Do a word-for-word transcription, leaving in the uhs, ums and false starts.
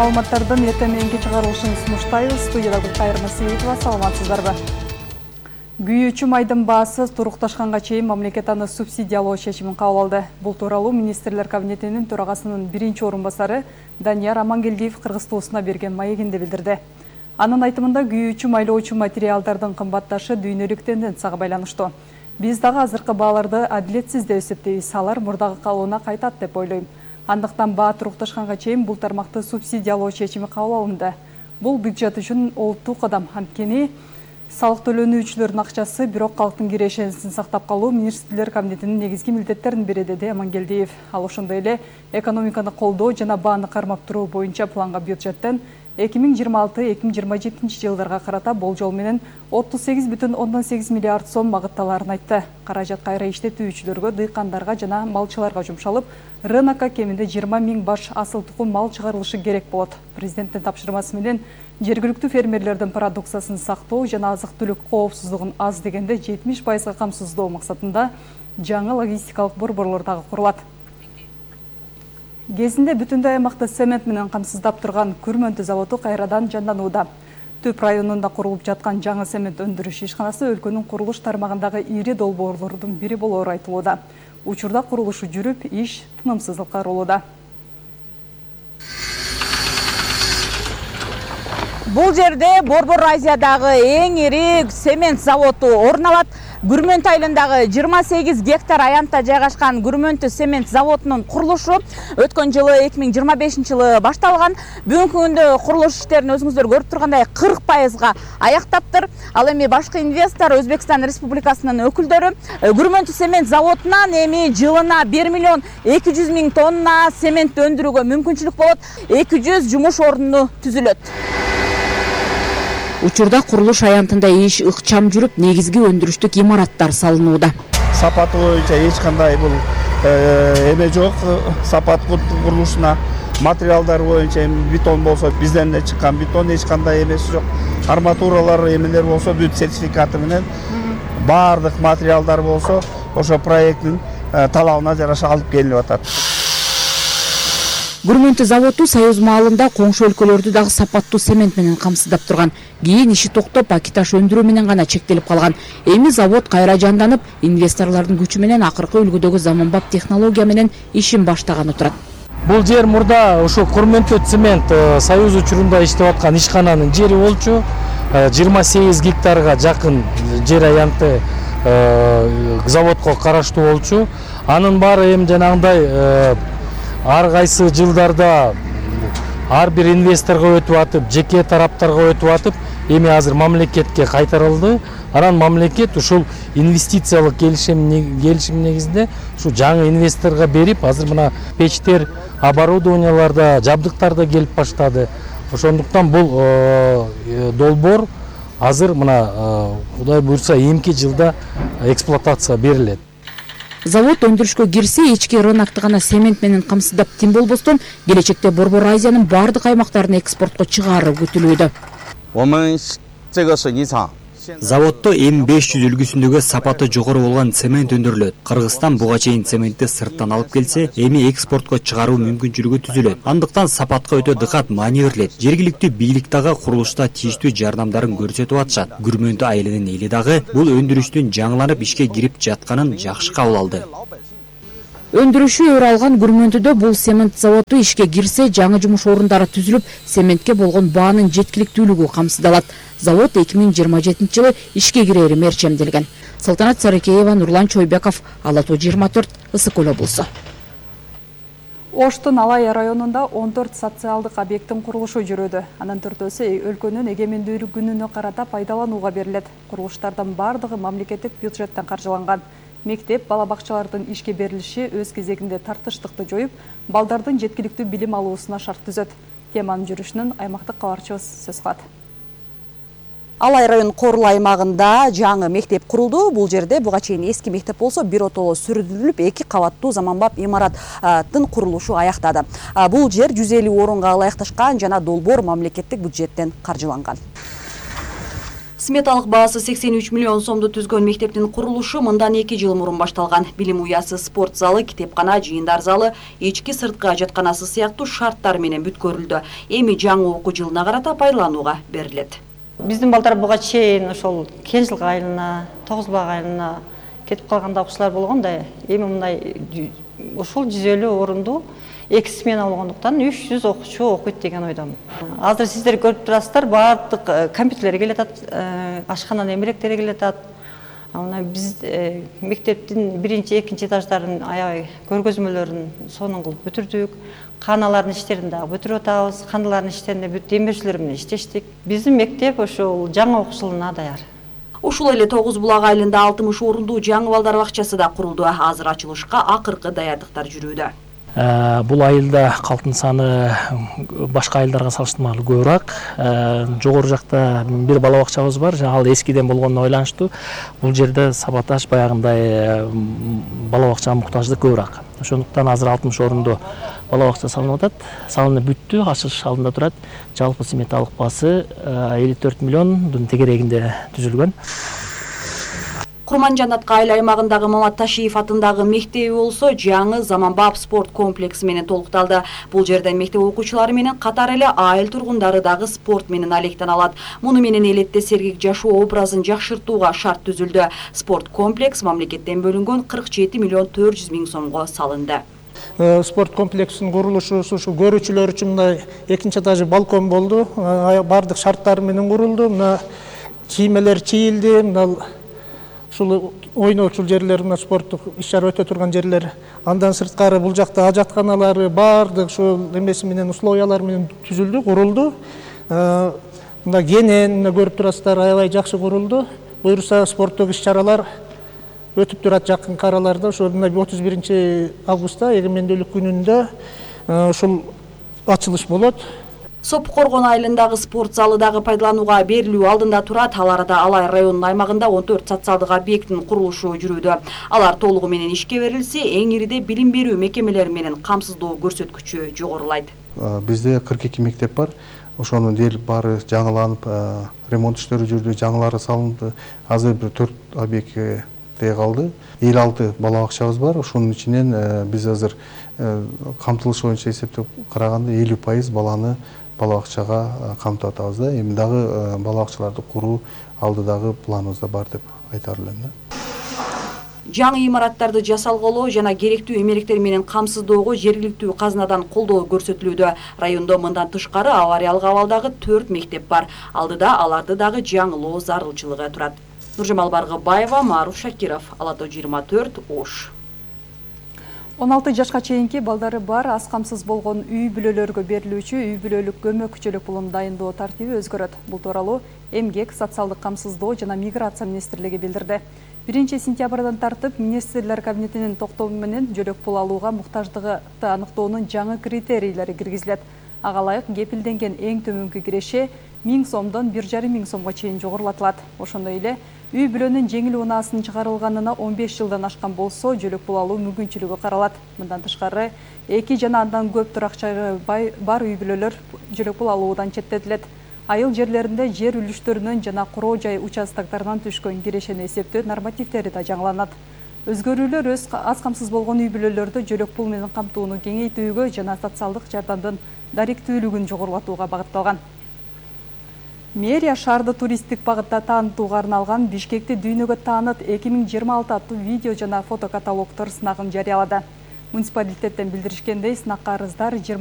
Маалыматтардын эртең мененки чыгарылышын сунуштайбыз. Студияда Гүлкайыр Насиевова, саламатсыздарбы? Күйүүчү майдын баасы турукташканга чейин мамлекет аны субсидиялоо чечимин кабыл алды. Бул тууралуу министрлер кабинетинин төрагасынын биринчи орун басары Данияр Амангелдиев Кыргыз Туусуна берген маегинде билдирди. Анын айтымында күйүүчү майлоочу материалдардын кымбатташы дүйнөлүк тенденцияга байланыштуу. Биз дагы азыркы бааларды адилетсиз деп эсептейбиз. Алар мурдагы калыбына кайтат деп ойлойм. Андыктан баа турукташканга чейин бул тармакты субсидиялоо чечими кабыл алынды. Бул бюджет үчүн олуттуу кадам. Анткени салык төлөнүүчүлөрдүн акчасы бирок калктын кирешенисин сактап калуу министрлер кабинетинин негизги милдеттеринин бири, деди Амангелдиев. Ал ошондой эле экономиканы колдоо жана бааны кармап туруу боюнча планга бюджеттен эки миң жыйырма алты эки миң жыйырма жетинчи жылдарга карата болжол менен отуз сегиз бүтүн ондон сегиз миллиард сом багытталаарын айтты. Каражат кайра иштетүүчүлөргө, дыйкандарга жана малчыларга жумшалып, рынокко кеминде жыйырма миң баш асыл тукум мал чыгарылышы керек болот. Президенттин тапшырмасы менен жергиликтүү фермерлердин продукциясын сактоо жана азык-түлүк коопсуздугун аз дегенде жетимиш пайызга камсыздоо максатында жаңы логистикалык борборлор дагы курулат. Кезинде бүтүндөй аймакты цемент менен камсыздап турган Күрмөнтү заводу кайрадан жанданууда. Түп районунда курулуп жаткан жаңы цемент өндүрүш ишканасы өлкөнүн курулуш тармагындагы ири долбоорлордун бири болоору айтылууда. Учурда курулушу жүрүп, иш тынымсыз аткарылууда. Бул жерде Борбор Азиядагы эң ири цемент заводу орун алат. Күрмөнтү айылындагы жыйырма сегиз гектар аянтта жайгашкан Күрмөнтү цемент заводунун курулушу өткөн жылы эки миң жыйырма бешинчи жылы башталган. Бүгүнкү күндө курулуш иштерин өзүңүздөр көрүп тургандай кырк пайызга аяктаптыр. Ал эми башкы инвестор Өзбекстан Республикасынын өкүлдөрү Күрмөнтү цемент заводунан эми жылына бир миллион эки жүз миң тонна цемент өндүрүүгө мүмкүнчүлүк болот. эки жүз жумуш орну түзүлөт. Учурда курулуш аянтында иш ыкчам жүрүп, негизги өндүрүштүк имараттар салынууда. Сапаты боюнча эч кандай бул эме жок. Сапат курулушуна материалдар боюнча бетон болсо бизден эле чыккан бетон, эч кандай эмеси жок. Арматуралар эмелер болсо бүт сертификаты менен баардык материалдар болсо ошо проекттин талабына жараша алып келип атат. Күрмөнтү заводу Союз маалында коңшу өлкөлөрдү дагы сапаттуу цемент менен камсыздап турган. Кийин иши токтоп, акиташ өндүрүү менен гана чектелип калган. Эми завод кайра жанданып, инвесторлордун күчү менен акыркы үлгүдөгү заманбап технология менен ишин баштаганы турат. Бул жер мурда ошо Күрмөнтү цемент Союз учурунда иштеп аткан ишкананын жери болчу. жыйырма сегиз гектарга жакын жер аянты заводко караштуу болчу. Анын баары эми жанагындай ар кайсы жылдарда ар бир инвесторго өтүп атып, жеке тараптарга өтүп атып, эми азыр мамлекетке кайтарылды. Анан мамлекет ушул инвестициялык келишим келишим негизинде ушу жаңы инвесторго берип, азыр мына печтер, оборудованияларда, жабдыктарда келип баштады. Ошондуктан бул долбоор азыр мына Кудай буйрса эмки жылда эксплуатацияга берилет. Завод өндүрүшкө кирсе, ички рынокто гана цемент менен камсыздап тим болбостон, келечекте Борбор Азиянын бардык аймактарына экспортко чыгаруу күтүлүүдө. Заводдо эм беш жүз үлгүсүндөгү сапаты жогору болгон цемент өндүрүлөт. Кыргызстан буга чейин цементти сырттан алып келсе, эми экспортко чыгаруу мүмкүнчүлүгү түзүлөт. Андыктан сапатка өтө дыкат маани берилет. Жергиликтүү бийлик дагы курулушта тийиштүү жардамдарын көрсөтүп атышат. Күрмөнтү айылынын эли дагы бул өндүрүштүн жаңыланып ишке кирип жатканын жакшы кабыл алды. Өндүрүшү өрө алган Күрмөнтүдө бул цемент заводу ишке кирсе, жаңы жумуш орундары түзүлүп, цементке болгон баанын жеткиликтүүлүгү камсыздалат. Завод эки миң жыйырма жетинчи жылы ишке кирери мерчемделген. Салтанат Сарыкеева, Нурлан Чойбеков, Ала Тоо жыйырма төрт, Ысык Көл облусу. Оштун Алай районунда он төрт социалдык объекттин курулушу жүрүүдө. Анын төртөөсү өлкөнүн эгемендүүлүк күнүнө карата пайдаланууга берилет. Курулуштардын бардыгы мамлекеттик бюджеттен каржыланган. Мектеп, бала бакчалардын ишке берилиши өз кезегинде тартыштыкты жоюп, балдардын жеткиликтүү билим алуусуна шарт түзөт. Теманын жүрүшүнөн аймактык кабарчыбыз сөз кылат. Алай район Корул аймагында жаңы мектеп курулду. Бул жерде буга чейин эски мектеп болсо, биротоло сүрүлүп, эки кабаттуу заманбап имараттын курулушу аяктады. Бул жер жүз элүү орунга ылайыкташкан жана долбоор мамлекеттик бюджеттен каржыланган. Сметалык баасы сексен үч миллион сомду түзгөн мектептин курулушу мындан эки жыл мурун башталган. Билим уясы, спорт залы, китепкана, жыйындар залы, ички сырткы ажатканасы сыяктуу шарттар менен бүткөрүлдү. Эми жаңы окуу жылына карата пайдаланууга берилет. Биздин балдар буга чейин ошол Кенжилик айылына, Тогузбак айылына кетип калганда окуучулар болгон да, эми мындай ошол жүз элүү орунду эки смена болгондуктан үч жүз окуучу окуйт деген ойдомун. Азыр сиздер көрүп турасыздар, баардык компьютерлер келатат, ашкананын эмеректери келатат. Мына биз мектептин биринчи, экинчи этаждарын аябай көргөзмөлөрүн сонун кылып бүтүрдүк. Каналардын иштерин дагы бүтүрүп атабыз. Каналардын иштеринде демирчилер менен иштештик. Биздин мектеп ошол жаңы окуу жылына даяр. Ушул эле Тогуз Булак айылында алтымыш орунду жаңы балдар бакчасы да курулду. Азыр ачылышка акыркы даярдыктар жүрүүдө. Бул айылда калктын саны башка айылдарга салыштырмалуу көбүрөөк. Жогору жакта бир бала бакчабыз бар, ал эскиден болгонуна байланыштуу. Бул жерде сапатташ баягындай бала бакчага муктаждык көбүрөөк. Ошондуктан азыр алтымыш орунду бала бакча салынып атат. Салынып бүттү, ачылыш алдында турат. Жалпы сметалык баасы элүү төрт миллиондун тегерегинде түзүлгөн. Курманжанатка айыл аймагындагы Мамат Ташиев атындагы мектеби болсо жаңы заманбап спорт комплекси менен толукталды. Бул жерде мектеп окуучулары менен катар эле айыл тургундары дагы спорт менен алектен алат. Муну менен элетте сергек жашоо образын жакшыртууга шарт түзүлдү. Спорт комплекс мамлекеттен бөлүнгөн кырк жети миллион төрт жүз миң сомго салынды. Спорт комплексинин курулушу ушу көрүүчүлөр үчүн мындай экинчи этажы балкон болду. Бардык шарттар менен курулду. Мына чиймелер чийилди. Мына ушул ойноочул жерлер, мына спорттук иш-чара өтө турган жерлер. Андан сырткары бул жакта ажатканалары бардык ушул эмеси менен условиялар менен түзүлдү, курулду. Мына кенен көрүп турасыздар, аябай жакшы курулду. Буюрса спорттук иш-чаралар өтүп турат жакынкы араларда. Ошол отуз биринчи августта эгемендүүлүк күнүндө ушул ачылыш болот. Сопкоргон айылындагы спорт залы дагы пайдаланууга берилүү алдында турат. Ал арада Алай районунун аймагында он төрт социалдык объекттин курулушу жүрүүдө. Алар толугу менен ишке берилсе, эң ириде билим берүү мекемелери менен камсыздоо көрсөткүчү жогорулайт. Бизде кырк эки мектеп бар. Ошонун дээрлик баары жаңыланып, ремонт иштери жүрдү, жаңылары салынды. Азыр бир төрт объектке калды. элүү алты бала бакчабыз бар. Ошонун ичинен биз азыр камтылыш боюнча эсептеп караганда элүү пайыз баланы бала бакчага камтып атабыз да. Эми дагы бала бакчаларды куруу алдыдагы планыбызда бар деп айта алам да. Жаңы имараттарды жасалгылоо жана керектүү эмеректер менен камсыздоого жергиликтүү казнадан колдоо көрсөтүлүүдө. Райондо мындан тышкары авариялык абалдагы төрт мектеп бар. Алдыда аларды дагы жаңылоо зарылчылыгы турат. Нуржамал Баргыбаева, Маруф Шакиров, Ала тоо жыйырма төрт, Ош. он алты жашка чейинки балдары бар аз камсыз болгон үй бүлөлөргө берилүүчү үй бүлөлүк көмөк көчөлүк пулун дайындоо тартиби өзгөрөт. Бул тууралуу Эмгек, социалдык камсыздоо жана миграция министрлиги билдирди. биринчи сентябрдан тартып министрлер кабинетинин токтому менен жөлөк пул алууга муктаждыгы аныктоонун жаңы критерийлери киргизилет. Ага ылайык кепилденген эң төмөнкү киреше миң сомдон бир жарым миң сомго чейин жогорулатылат. Ошондой эле үй бүлөнүн жеңил унаасынын чыгарылганына он беш жылдан ашкан болсо жөлөк пул алуу мүмкүнчүлүгү каралат. Мындан тышкары эки жана андан көп туракчасы бар үй бүлөлөр жөлөк пул алуудан четтетилет. Айыл жерлеринде жер үлүштөрүнөн жана куроо жай участоктарынан түшкөн кирешени эсептөө нормативдери да жаңыланат. Өзгөрүүлөр өз аз камсыз болгон үй бүлөлөрдө жөлөк пул менен камтууну кеңейтүүгө жана социалдык жардамдын даректүүлүгүн жогорулатууга багытталган. Мэрия шаарды туристтик багытта таанытууга арналган Бишкекти дүйнөгө тааныт эки миң жыйырма алты аттуу видео жана фотокаталогдор сынагын жарыялады. Муниципалитеттен билдиришкендей, сынакка арыздар